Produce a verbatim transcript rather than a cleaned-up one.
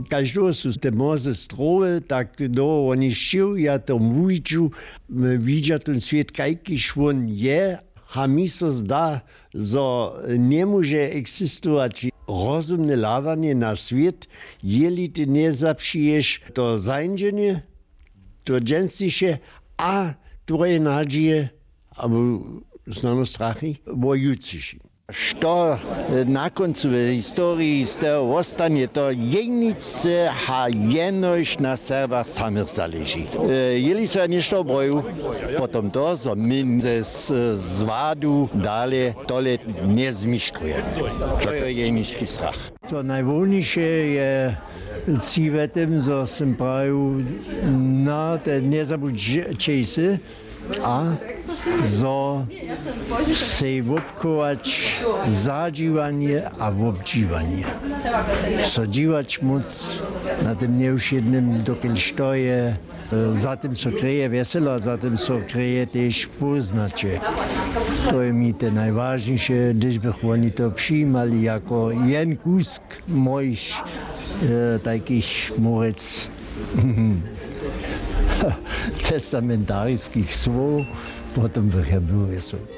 Kaž dołho su te młoze strowy, tak dołho woni sćěł, ja to wuwiću, widźa ten swět kajkiž wón je. A mi so zda, zo njemóže eksistować rozumne hladanje na swět, jeli ty njezapřiješ to zańdźenje, to dźensniše a twoje nadźije abo snano strachy wo jutřiši. Što na kóncu w historii z toho wostanje, to jeničce a jenož na Serbach samych zaleži. Jeli so ja něšto obrojil, potom to zo my ze zwadu dale tole njezmištrujemy. To je jenički strach. To najwolniše je, cywetym zo sym prajił, na te njezabudźejsy a zo sej wobchować zadźiwanje a wobdźiwanje, so dźiwać móc na tym njewšědnym dokelž to je. Za tym so kreje wjeselo a za tym so kreje tež póznaće. To je mi te najwažniše hdyž bych woni to přijimali jako jen kusk mojich tajkich mórec testamentariskich słow. Potom bych ja był wjesel.